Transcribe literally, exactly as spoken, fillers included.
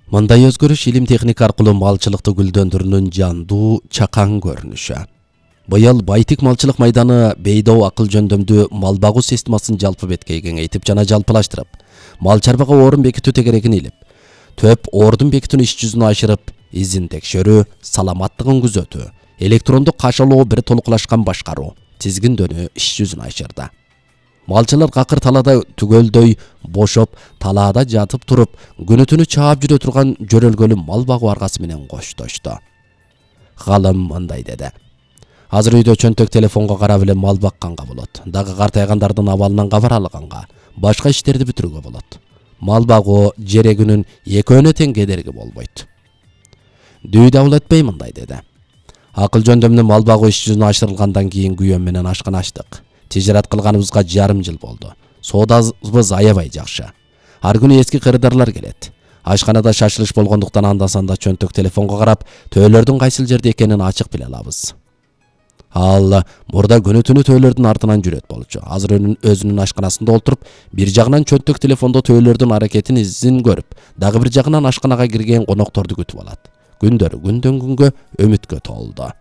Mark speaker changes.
Speaker 1: Мындай өзгөрүш илим техника аркылуу малчылыкты гүлдөндүрүүнүн жандуу чакан көрүнүшү. Быйыл Байтик малчылык майданы бейдоо акыл жөндөмдүү мал багуу системасын жалпы бетке кеңейтип жана жалпылаштырып, мал чарбага орун бекитүү тегерегин илип, төп ордун бекитүүнү иш жүзүнө ашырып, изин текшерүү, саламаттыгын күзөтүү, электрондук кашалоо бир толуклашкан башкаруу, тизгиндөнүү иш жүзүнө ашырды. Малчылар какыр талаада түгөлдөй бошоп, талаада жатып туруп, күнү түнү чаап жүрө турган жөрөлгөлүү мал багуу аргасы менен коштошту. Галым мындай деди: азыр үйдө чөнтөк телефонго карап эле мал бакканга болот. Дагы картайгандардын абалынан кабар алганга, башка иштерди бүтүрүүгө болот. Мал багуу жерегүнүн экөөнө тең кедерги болбойт. Дүй дабыл этпей мындай деди: акыл жөндөмдүү мал багуу иш жүзүнө ашырылгандан кийин күйөөм менен ашкана ачтык. Тижарат кылганыбызга жарым жыл болду. Соодабыз аябай жакшы. Ар күнү эски кырдарлар келет. Ашканада шашылыш болгондуктан анда санда чөнтөк телефонго карап, төөлөрдүн кайсыл жерде экенин ачык биле алабыз. Ал мурда күнү түнү төөлөрдүн артынан жүрөт болчу. Азыр өзүнүн ашканасында отуруп, бир жагынан чөнтөк телефондо төөлөрдүн аракетин изин көрүп, дагы бир жагынан ашканага кирген конокторду күтүп алат. Күндөр күндөн күнгө үмүткө толду.